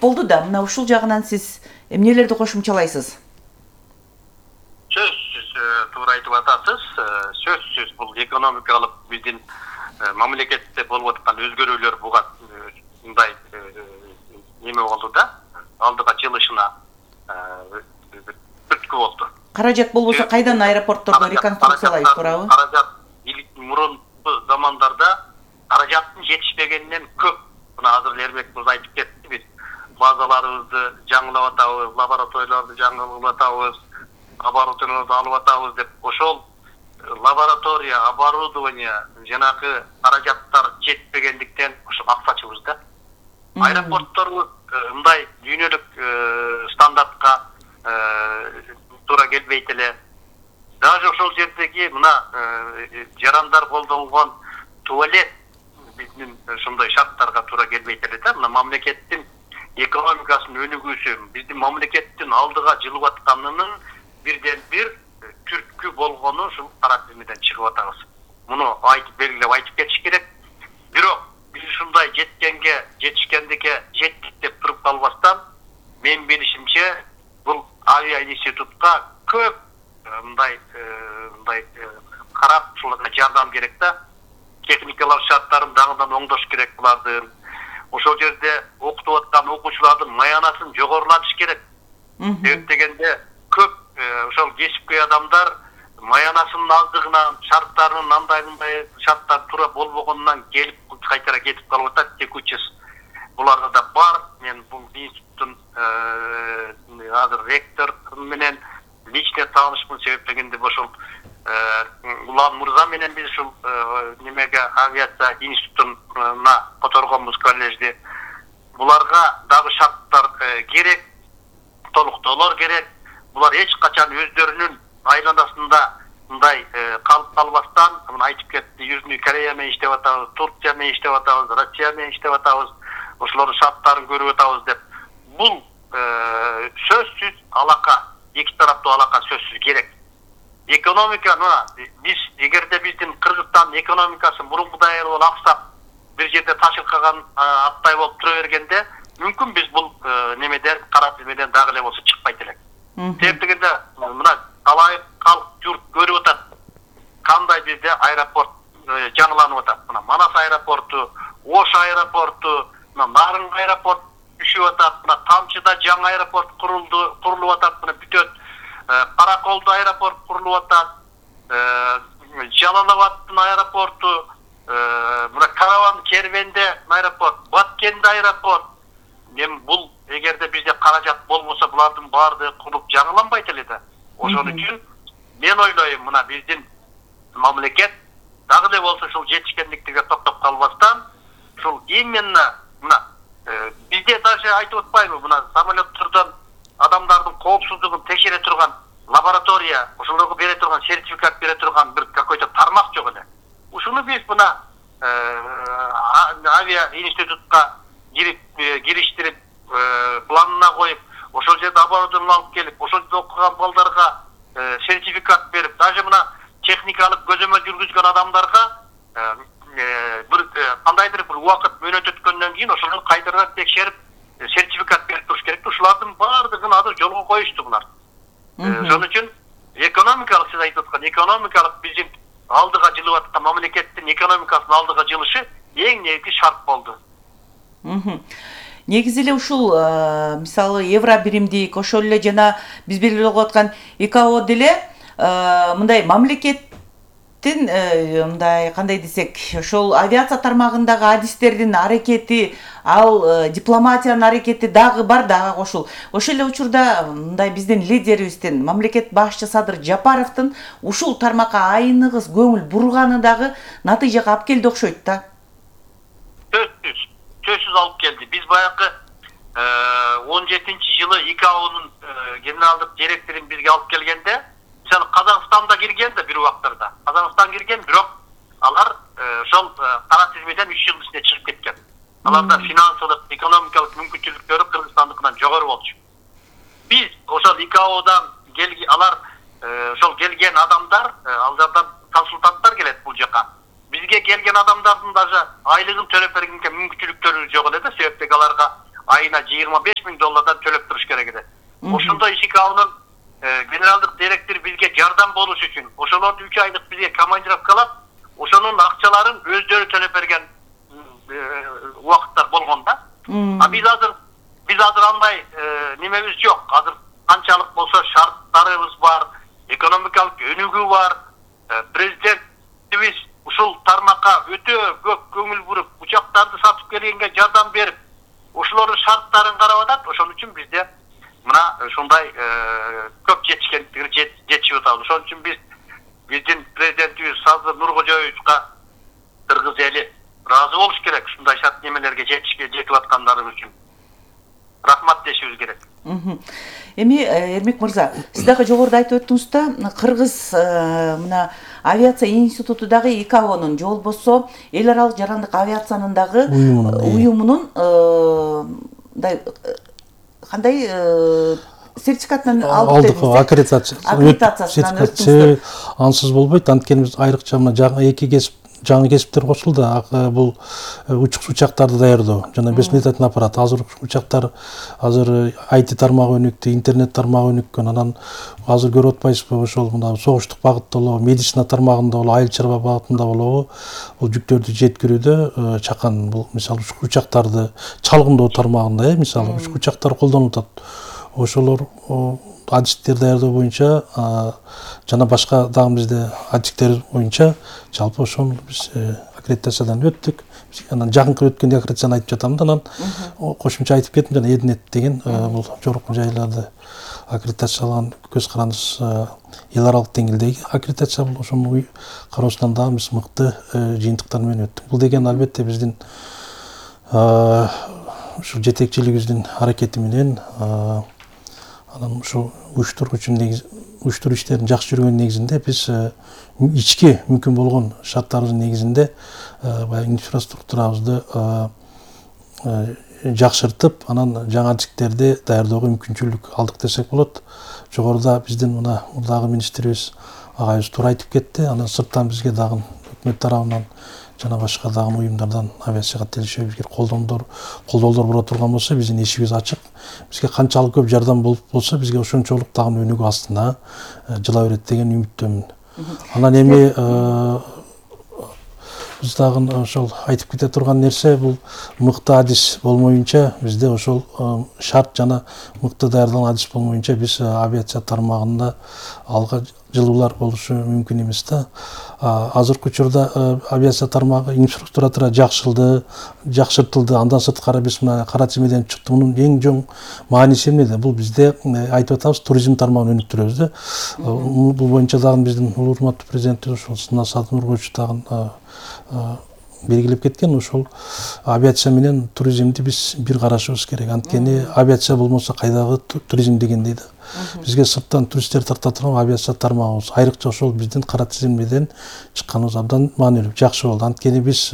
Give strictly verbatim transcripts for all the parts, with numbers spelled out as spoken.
болду да, мына ушул жагынан сиз эмнелерди кошумчалайсыз? Сөзсүз туура айтып атасыз. Сөзсүз бул экономикалык биздин мамлекетте болуп аткан өзгөрүүлөр буга мындай неме болду да, алдыга жылышына түрткү болду. Каражат болбосо кайдан аэропортторду реконструкциялайбыз, туурабы? Каражат мурунку замандарда каражаттын жетишпегенинен көп. Мына азыр Эрмек мырза айтып кетти, биз базаларыбызды жаңылап атабыз, лабораторияларды жаңылап атабыз, оборудованияларды алып атабыз деп. Ошол лаборатория, оборудование, жанагы каражаттар жетпегендиктен ошо аксачыбыз да. Аэропортторубуз мындай дүйнөлүк стандартка туура келбейт эле. Даже ошол жердеги мына жарандар колдонгон туалет биздин ошондой шарттарга туура келбейт эле да. Мына мамлекеттин экономикасынын өнүгүүсү, биздин мамлекеттин алдыга жылып атканынын бирден бир түрткү болгону ушул кара тизмеден чыгып атабыз. Муну айтып белгилеп айтып кетиш керек. Бирок биз ушундай жеткенге, жетишкендикке жеттик деп туруп калбастан, мен билишимче бул авиа институтка көп мындай мындай карап ушуларга жардам керек да. Техникалык шарттарын дагыдан оңдош керек булардын. Ошол жерде окутуп аткан окуучулардын маянасын жогорулатыш керек. Себеп дегенде көп ошол кесипкөй адамдар маянасынын аздыгынан, шарттарынын андай мындай шарттар туура болбогонунан келип кайтара кетип калып атат. Текучесть буларда да бар. Мен бул институттун азыр ректор менен лично таанышмын. Себеп дегенде ошол Улан Мырза менен биз ушул немеге авиация институтуна которгонбуз коллежди. Буларга дагы шарттар керек, толуктоолор керек. Булар эч качан өздөрүнүн айланасында мындай калып калбастан, мына айтып кетти, Южный Корея менен иштеп атабыз, Турция менен иштеп атабыз, Россия менен иштеп атабыз, ошолордун шарттарын көрүп атабыз деп. Бул сөзсүз алака, эки тараптуу алака сөзсүз керек. Экономика, мына биз эгерде биздин Кыргызстан экономикасы мурункудай эле аксап, бир жерде ташылкаган аттай болуп тура бергенде, мүмкүн биз бул немеден, кара тизмеден дагы эле болсо чыкпайт элек. Себеп дегенде мына талай калк журт көрүп атат. Кандай бизде аэропорт жаңыланып атат. Мына Манас аэропорту, Ош аэропорту, мына Нарынг аэропорт түшүп атат. Мына Тамчыда жаңы аэропорт курулду, курулуп атат. Мына бүтөт Караколдо аэропорт курулуп атат. Жалал-Абадтын аэропорту, мына Караван Кервенде аэропорт, Баткенде аэропорт. Мен бул эгерде бизде каражат болбосо булардын баардыгы куруп жаңыланбайт эле да. Ошон үчүн мен ойлойм, мына биздин мамлекет дагы эле болсо ушул жетишкендиктерге токтоп калбастан, ушул именно мына бизде даже айтып атпайбы, мына самолеттордон адамдардын коопсуздугун текшере турган лаборатория, ошолорго бере турган сертификат бере турган бир какой-то тармак жок эле. Ушуну биз мына авиа институтка кирип кириштирип планына коюп, ошол жерде оборудование алып келип, ошол жерде окуган балдарга сертификат берип, даже мына техникалык көзөмөл жүргүзгөн адамдарга бир кандайдыр бир убакыт мөөнөт өткөндөн кийин ошолорду кайтадан текшерип сертификат берип туруш керек. Ушулардын баардыгын азыр жолго коюшту булар. Ошон үчүн экономикалык, сиз айтып аткан экономикалык биздин алдыга жылып аткан мамлекеттин экономикасынын алдыга жылышы эң негизги шарт болду. Негизи эле ушул мисалы евро биримдик, ошол эле жана биз белгилеп аткан ИКАО деле мындай мамлекеттин мындай кандай десек, ошол авиация тармагындагы адистердин аракети, ал дипломатиянын аракети дагы бар, дагы кошул. Ошол эле учурда мындай биздин лидерибиздин, мамлекет башчы Садыр Жапаровдун ушул тармакка айныгыс көңүл бурганы дагы натыйжага алып келди окшойт да. Сөзсүз, сөзсүз алып келди. Биз баягы он жетинчи жылы ИКАОнун генералдык директорун бизге алып келгенде, мисалы Казакстанда кирген да бир убактарда. Казакстан кирген, бирок алар ошол кара тизмеден үч жыл ичинде чыгып кеткен. Аларда финансылык, экономикалык мүмкүнчүлүктөрү Кыргызстандыкынан жогору болчу. Биз ошол ИКАОдан келген, алар ошол келген адамдар, алардан консультанттар келет бул жака. Бизге келген адамдардын даже айлыгын төлөп бергенге мүмкүнчүлүктөрү жок эле да, себептеги аларга айына айына жыйырма беш миң доллардан төлөп туруш керек эле. Ошондой ИКАОнун генералдык директору бизге жардам болуш үчүн ошолорду үч айлык бизге командировкалап, ошонун акчаларын өздөрү төлөп берген убакыттар болгон да. А биз азыр биз азыр андай немебиз жок. Азыр канчалык болсо шарттарыбыз бар, экономикалык өнүгүү бар. Президентибиз ушул тармакка өтө көп көңүл буруп, учактарды сатып келгенге жардам берип, ошолордун шарттарын карап атат. Ошон үчүн бизде мына ушундай көп жетишкендиги жетишип атабыз. Ошон үчүн биз биздин президентибиз Сазыр Нуркожоевичка кыргыз эли ыраазы болуш керек ушундай шарт немелерге жетишке жетип аткандарыбыз үчүн. Рахмат дешибиз керек. Эми Эрмек мырза, сиз дагы жогоруда айтып өттүңүз да, кыргыз мына авиация институту дагы ИКАОнун же болбосо эл аралык жарандык авиациянын дагы уюмунун мындай кандай сертификатын алып алдык, аккредитациясынан өттүңүздөр. Ансыз болбойт. Анткени биз айрыкча мына жаңы эки кесип жаңы кесиптер кошулду. Бул учкуч учактарды даярдоо жана беспилотный аппарат. Азыр учактар азыр ай ти тармагы өнүктү, интернет тармагы өнүккөн. Анан азыр көрүп атпайсызбы, ошол мына согуштук багытта болобу, медицина тармагында болобу, айыл чарба багытында болобу, бул жүктөрдү жеткирүүдө чакан бул мисалы учактарды чалгындоо тармагында, э, мисалы учактар колдонуп атат. Ошолор адистер даярдоо боюнча жана башка дагы бизде адистер боюнча жалпы ошол биз аккредитациядан өттүк. Анан жакынкы өткөндө аккредитацияны айтып жатам да, анан кошумча айтып кеттим жана Эднет деген бул жогорку жайларды аккредитацияланган көз карандысыз эл аралык деңгээлдеги аккредитация бул. Ошонун кароосунан дагы биз мыкты жыйынтыктар менен өттүк. Бул деген албетте биздин ушу жетекчилигибиздин аракети менен анан ушу уюштургучу негиз уюштуруу иштерин жакшы жүргөн негизинде биз ички мүмкүн болгон шарттарыбыздын негизинде баягы инфраструктурабызды жакшыртып, анан жаңа адистерди даярдоого мүмкүнчүлүк алдык десек болот. Жогоруда биздин мына дагы министрибиз агайыбыз туура айтып кетти. Анан сырттан бизге дагы өкмөт тарабынан жана башка дагы уюмдардан авиацияга тиешелүү бизге колдоолдор колдоолдор боло турган болсо биздин эшигибиз ачык. Бизге канчалык көп жардам болуп болсо бизге ошончолук дагы өнүгүү астына жыла берет деген үмүттөмүн. Анан эми биз дагы ошол айтып кете турган нерсе бул мыкты адис болмоюнча бизде ошол шарт жана мыкты даярдалган адис болмоюнча биз авиация тармагында алга жылуулар болушу мүмкүн эмес да. Азыркы учурда авиация тармагы инфраструктура жакшырылды, жакшыртылды. Андан сырткары биз мына кара тизмеден чыкты. Мунун эң чоң мааниси эмнеде? Бул бизде айтып атабыз, туризм тармагын өнүктүрөбүз да. Бул боюнча дагы биздин урматтуу президентибиз ошол Сазыр Нуркожоевич дагы белгилеп кеткен. Ошол авиация менен туризмди биз бир карашыбыз керек. Анткени авиация болмосо кайдагы туризм дегендей да. Бизге сырттан туристтер тарта турган авиация тармагыбыз айрыкча ошол биздин кара тизмеден чыкканыбыз абдан маанилүү, жакшы болду. Анткени биз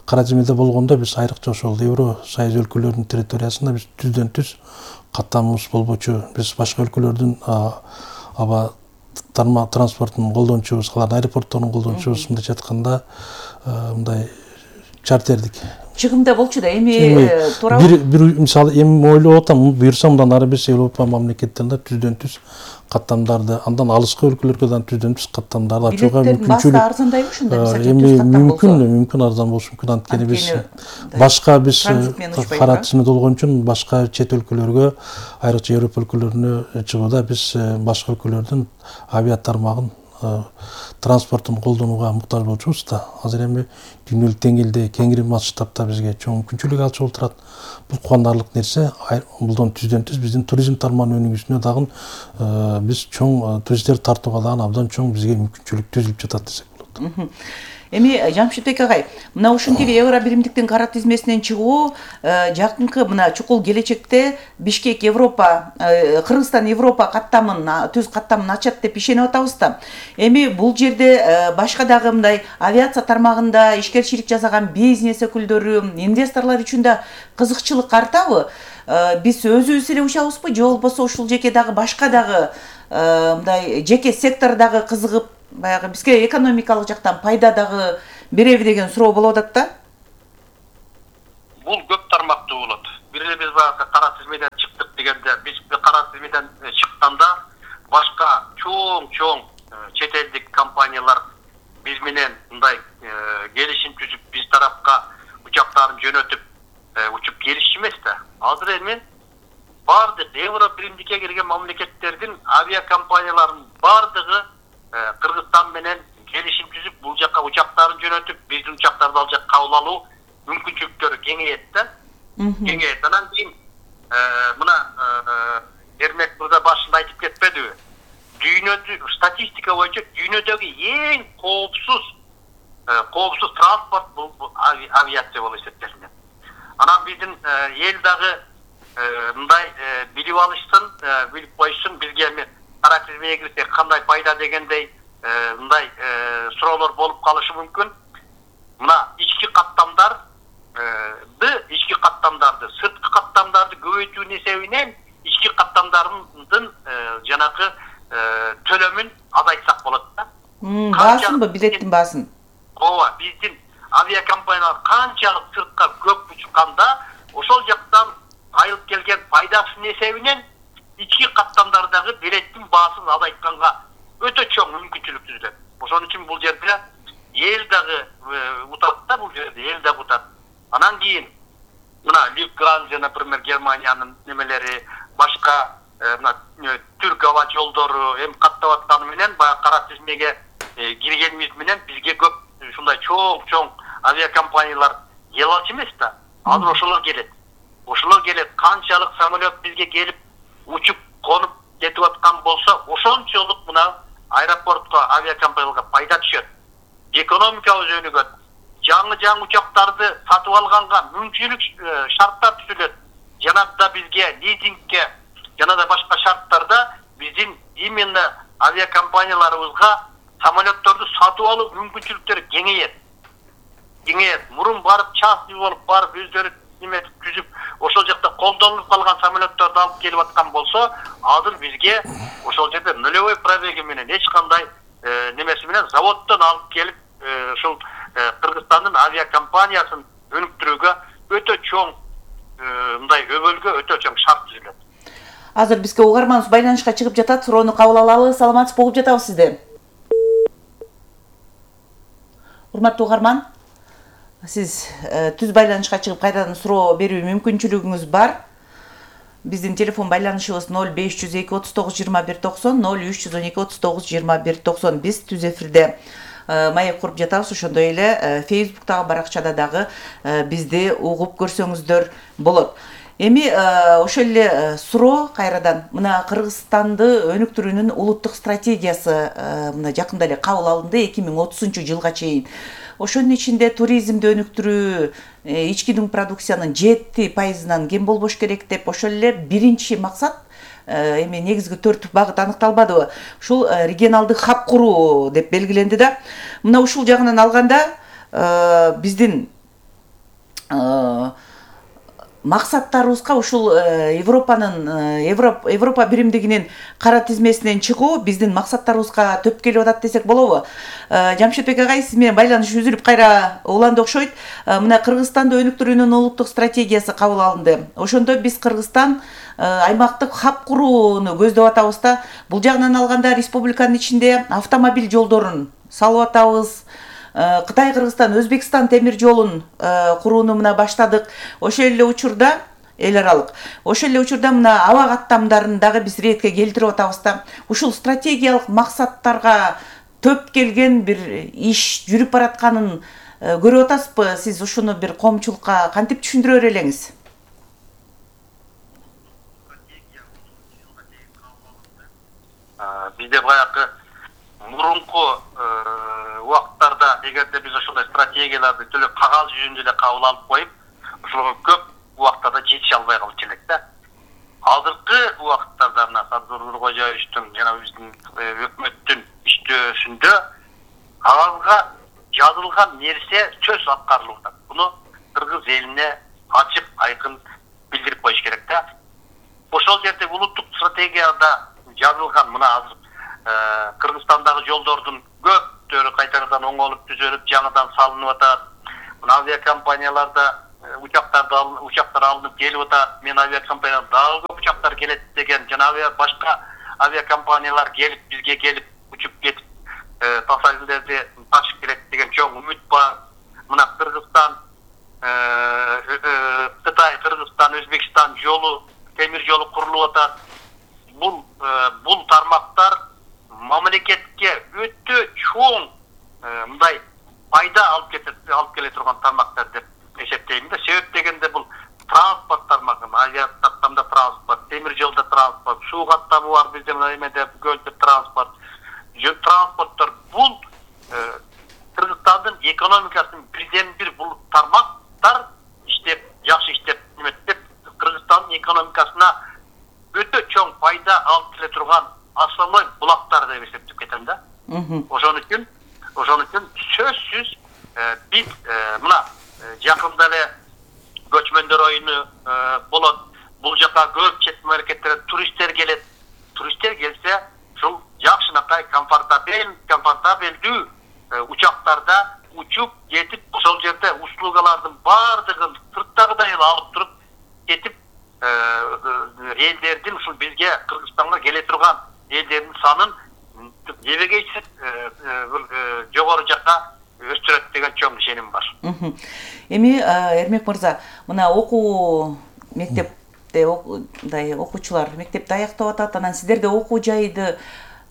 кара тизмеде болгондо биз айрыкча ошол Евро Союз өлкөлөрүнүн территориясында биз түздөн түз каттамыбыз болбочу. Биз башка өлкөлөрдүн аба тармак транспортун колдончубуз, алардын аэропортторун колдончубуз. Мындайча айтканда мындай чартердик чыгымда болчу да. Эми туурабы бир бир мисалы эми ойлоп атам, буюрса мындан ары биз Европа мамлекеттеринде түздөн түз каттамдарды, андан алыскы өлкөлөргө да түздөн түз каттамдарды ачууга мүмкүнчүлүк. Арзандайбы ушундай мисалы эми мүмкүн, мүмкүн арзан болушу мүмкүн. Анткени биз башка биз кара тизмеде болгон үчүн башка чет өлкөлөргө, айрыкча Европа өлкөлөрүнө чыгууда биз башка өлкөлөрдүн авиа тармагын транспортун колдонууга муктаж болчубуз да. Азыр эми дүйнөлүк деңгээлде кеңири масштабта бизге чоң мүмкүнчүлүк алчу болуп турат. Бул кубандарлык нерсе. Булдан түздөн түз биздин туризм тармагынын өнүгүүсүнө дагы биз чоң туристтер тартууга дагы абдан чоң бизге мүмкүнчүлүк түзүлүп жатат десек болот. Эми Жамшитбек агай, мына ушинтип евро биримдиктин кара тизмесинен чыгуу жакынкы мына чукул келечекте Бишкек Европа, Кыргызстан Европа каттамын, түз каттамын ачат деп ишенип атабыз да. Эми бул жерде башка дагы мындай авиация тармагында ишкерчилик жасаган бизнес өкүлдөрү, инвесторлор үчүн да кызыкчылык артабы? Биз өзүбүз эле учабызбы, же болбосо ушул жеке дагы башка дагы мындай жеке сектордагы кызыгып баягы бизге экономикалык жактан пайда дагы береби деген суроо болуп атат да. Бул көп тармактуу болот. бир эле биз баягы кара тизмеден чыктык дегенде, биз кара тизмеден чыкканда башка чоң-чоң чет элдик компаниялар биз менен мындай келишим түзүп, биз тарапка учактарын жөнөтүп учуп келишчү эмес да. Азыр эми бардык евро биримдикке кирген мамлекеттердин авиакомпанияларынын бардыгы Кыргызстан менен келишим түзүп, бул жакка учактарын жөнөтүп, биздин учактарды ал жакка кабыл алуу мүмкүнчүлүктөрү кеңейет да. Кеңейет. Анан кийин мына Эрмек мырза башында айтып кетпедиби? Дүйнөдө статистика боюнча дүйнөдөгү эң коопсуз коопсуз транспорт бул авиация болуп эсептелинет. Анан биздин эл дагы мындай билип алышсын, билип койсун, бизге эми кара тизмеге кирсек кандай пайда дегендей мындай суроолор болуп калышы мүмкүн. Мына ички каттамдарды, ички каттамдарды, сырткы каттамдарды көбөйтүүнүн эсебинен ички каттамдардын жанагы төлөмүн азайтсак болот да. Баасынбы, билеттин баасын? Ооба, биздин авиакомпаниялар канчалык сыртка көп учканда, ошол жактан айылып келген пайдасынын эсебинен ички каттамдардагы билеттин баасын азайтканга өтө чоң мүмкүнчүлүк түзүлөт. Ошон үчүн бул жерде эл дагы утат да, бул жерде эл дагы утат. Анан кийин мына Люфтганза, например, Германиянын немелери, башка мына Түрк аба жолдору эми каттап атканы менен баягы кара тизмеге киргенибиз менен бизге көп ушундай чоң-чоң авиакомпаниялар келалчу эмес да. Азыр ошолор келет. Ошолор келет. Канчалык самолет бизге келип учуп, конуп кетип аткан болсо, ошончолук мына аэропортко, авиакомпанияларга пайда түшөт. Экономикабыз өнүгөт. Жаңы-жаңы учактарды сатып алганга мүмкүнчүлүк шарттар түзүлөт. Жанагыда бизге лизингке, жана да башка шарттарда биздин именно авиакомпанияларыбызга самолетторду сатып алуу мүмкүнчүлүктөрү кеңейет. Кеңейет. Мурун барып частный болуп барып өздөрү неме түзүп, ошол жакта колдонулуп калган самолетторду алып келип аткан болсо, азыр бизге ошол жерде нулевой пробеги менен эч кандай немеси менен заводдон алып келип ушул Кыргызстандын авиакомпаниясын өнүктүрүүгө өтө чоң мындай өбөлгө өтө чоң шарт түзүлөт. Азыр бизге угарманыбыз байланышка чыгып жатат, суроону кабыл алалы. Саламатсыз болуп жатабыз сизде. Урматтуу угарман, сиз түз байланышка чыгып кайрадан суроо берүү мүмкүнчүлүгүңүз бар. Биздин телефон байланышыбыз ноль беш жүз эки отуз тогуз жыйырма бир токсон, ноль үч жүз он эки отуз тогуз жыйырма бир токсон. Биз түз эфирде маек куруп жатабыз. Ошондой эле Facebooктагы баракчада дагы бизди угуп көрсөңүздөр болот. Эми ошол эле суроо кайрадан мына Кыргызстанды өнүктүрүүнүн улуттук стратегиясы мына жакында эле кабыл алынды эки миң отузунчу жылга чейин. Ошонун ичинде туризмди өнүктүрүү, ички продукциянын жети пайызынан кем болбош керек деп, ошол эле биринчи максат эми негизги төрт багыт аныкталбадыбы? Ушул регионалдык хаб куруу деп белгиленди да. Мына ушул жагынан алганда биздин максаттарыбызга ушул Европанын Европа биримдигинин кара тизмесинен чыгуу биздин максаттарыбызга төп келип атат десек болобу? Жамшитбек агай, сиз менен байланыш үзүлүп кайра уланды окшойт. Мына Кыргызстанды өнүктүрүүнүн улуттук стратегиясы кабыл алынды. Ошондо биз Кыргызстан аймактык хаб курууну көздөп атабыз да. Бул жагынан алганда республиканын ичинде автомобиль жолдорун салып атабыз. Кытай, Кыргызстан, Өзбекстан темир жолун курууну мына баштадык. Ошол эле учурда эл аралык. Ошол эле учурда мына аба каттамдарын дагы биз ретке келтирип атабыз да. Ушул стратегиялык максаттарга төп келген бир иш жүрүп баратканын көрүп атасызбы? Сиз ушуну бир коомчулукка кантип түшүндүрө берелиңиз? Бизде баягы мурунку убакыттарда эгерде биз ошондой стратегияларды төлө кагаз жүзүндө эле кабыл алып коюп, ошолго көп убактарда жетише албай калчу элек да. Азыркы убакыттарда мына Садыр Нуркожоевичтин жана биздин өкмөттүн иштөөсүндө кагазга жазылган нерсе сөз аткарылып атат. Буну кыргыз элине ачык, айкын билдирип коюш керек да. Ошол жерде улуттук стратегияда жазылган мына азыр Кыргызстандагы жолдордун көптөрү кайтадан оңолуп түзөлүп, жаңыдан салынып атат. Мына авиакомпанияларда учактарды учактар алынып келип атат. Мен авиакомпания дагы көп учактар келет деген жана авиа башка авиакомпаниялар келип бизге келип учуп кетип пассажирлерди ташып келет деген чоң үмүт бар. Мына Кыргызстан, Кытай, Кыргызстан, Өзбекстан жолу, темир жолу курулуп атат. Бул бул тармактар мамлекетке өтө чоң мындай пайда алып кетет, алып келе турган тармактар деп эсептейм да. Себеп дегенде бул транспорт тармагы, авиа каттамда транспорт, темир жолда транспорт, суу каттамы бар бизде мына эмеде көлдө транспорт, транспорттор бул Кыргызстандын экономикасын бирден бир бул тармактар иштеп, жакшы иштеп, эметип Кыргызстандын экономикасына өтө чоң пайда алып келе турган основной булактар деп эсептеп кетем да. Ошон үчүн, ошон үчүн сөзсүз биз мына жакында эле көчмөндөр оюну болот. Бул жака көп чет мамлекеттерден туристтер келет. Туристтер келсе, ушул жакшынакай комфортабель, комфортабелдүү учактарда учуп кетип, ошол жерде услугалардын баардыгын сырттагыдай эле алып туруп кетип, элдердин ушул бизге Кыргызстанга келе турган элдердин санын эбегейсиз жогору жакка өстүрөт деген чоң ишеним бар. Эми Эрмек мырза, мына окуу мектепте мындай окуучулар мектепти аяктап атат, анан сиздерде окуу жайдыга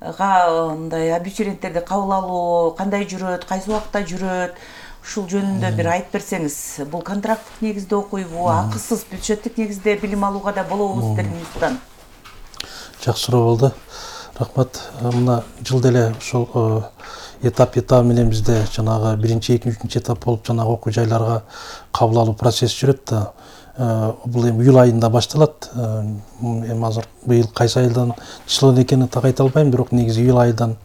мындай абитуриенттерди кабыл алуу кандай жүрөт, кайсы убакта жүрөт? Ушул жөнүндө бир айтып берсеңиз. Бул контракттык негизде окуйбу, акысыз бюджеттик негизде билим алууга да болобу сиздердин институттан? Жакшы суроо болду. Рахмат. Мына жылда эле ошол этап этап менен бизде жанагы биринчи, экинчи, үчүнчү этап болуп жанагы окуу жайларга кабыл алуу процесси жүрөт да. Бул эми июль айында башталат. Эми азыр быйыл кайсы айдан число экенин так айта албайм, бирок негизи июль айдан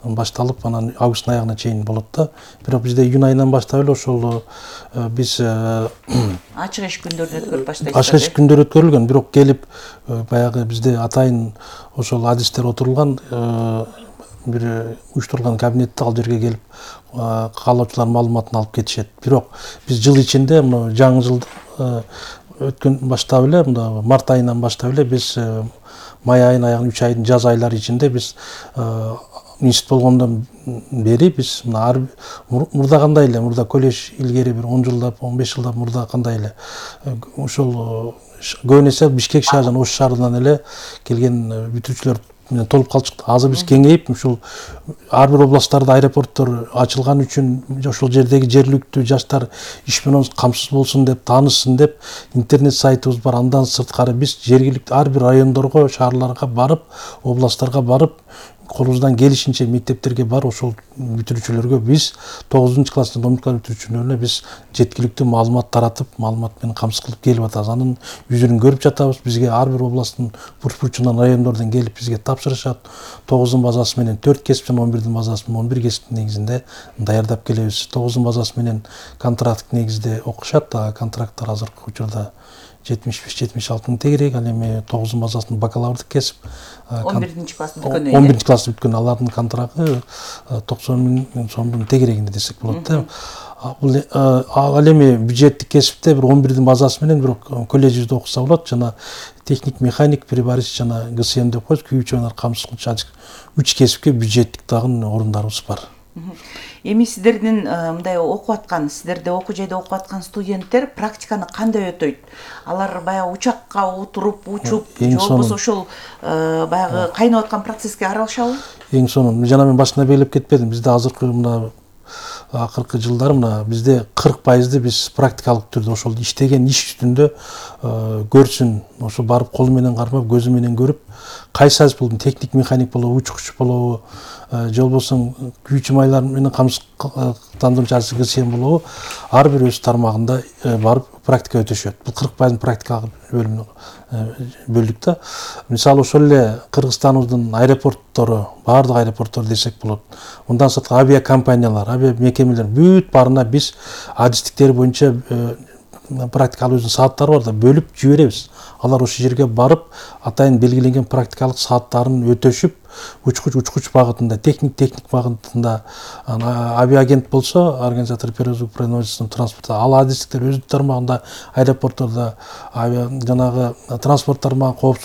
башталып, анан августтун аягына чейин болот да. Бирок бизде июнь айынан баштап эле ошол биз ачык эшик күндөрүн өткөрүп баштайсыздар. Ачык эшик күндөрү өткөрүлгөн, бирок келип баягы бизде атайын ошол адистер отурулган бир уюштурулган кабинетте ал жерге келип каалоочулар маалыматын алып кетишет. Бирок биз жыл ичинде мына жаңы жыл өткөн баштап эле мында март айынан баштап эле биз май айынын аягына үч айдын жаз айлары ичинде биз институт болгондон бери биз мына мурда кандай эле мурда колледж илгери бир он жылдап он беш жылдап мурда кандай эле ошол көбүн эсе Бишкек шаарынан Ош шаарынан эле келген бүтүүчүлөр менен толуп калчык. Азыр биз кеңейип ушул ар бир областтарда аэропорттор ачылган үчүн ошол жердеги жергиликтүү жаштар иш менен камсыз болсун деп, таанышсын деп интернет сайтыбыз бар. Андан сырткары биз жергиликтүү ар бир райондорго, шаарларга барып, областтарга барып, колубуздан келишинче мектептерге бар ошол бүтүрүүчүлөргө биз тогузунчу класстын домдук бүтүрүүчүлөрүнө биз жеткиликтүү маалымат таратып, маалымат менен камсыз кылып келип атабыз. Анын жүзүн көрүп жатабыз. Бизге ар бир областтын бурч-бурчунан, райондордон келип бизге тапшырышат. тогуздун базасы менен төрт кесип жана он бирдин базасы менен он бир кесиптин негизинде даярдап келебиз. тогуздун базасы менен контракттык негизде окушат. Контракттар азыркы учурда жетимиш беш жетимиш алты мың тегерек, ал эми тогуздун базасында бакалаврдык кесип он биринчи класс бүткөн. он биринчи класс бүткөн алардын контрагы токсон миң сомдун тегерегинде десек болот да. Ал эми бюджеттик кесипте бир он бирдин базасы менен бирок колледжибизде окуса болот. Жана техник, механик, приборщик жана ГСМ деп коебуз, күйүүчү менен камсыз кылчу үч кесипке бюджеттик дагы орундарыбыз бар. Эми сиздердин мындай окуп аткан, сиздерде окуу жайда окуп аткан студенттер практиканы кандай өтөйт? Алар баягы учакка отуруп, учуп, же болбосо ошол баягы кайнап аткан процесске аралашабы? Эң сонун, жана мен башында белгилеп кетпедим. Бизде азыркы мына акыркы жылдары мына бизде кырк пайызды биз практикалык түрдө ошол иштеген иш үстүндө көрсүн, ошо барып колу менен кармап, көзү менен көрүп, кайсы азыр бул техник, механик болобу, учкуч болобу, же болбосо күйүүчү майлар менен камсыздандыруучу ГСМ болобу, ар бир өз тармагында барып практика өтүшөт. Бул кырк пайыздын практикалык бөлүмүнө бөлдүк да. Мисалы ошол эле Кыргызстаныбыздын аэропорттору, баардык аэропорттор десек болот. Мындан сырткары авиакомпаниялар, авиа мекемелер бүт баарына биз адистиктер боюнча практикалык өзүнүн сааттары бар да, бөлүп жиберебиз. Алар ошол жерге барып, атайын белгиленген практикалык сааттарын өтөшүп, учкуч учкуч багытында, техник техник багытында, авиагент болсо, организатор перевозок производственного транспорта, ал адистиктер өз тармагында, аэропорттордо, жанагы транспорт тармагы, коопсуздук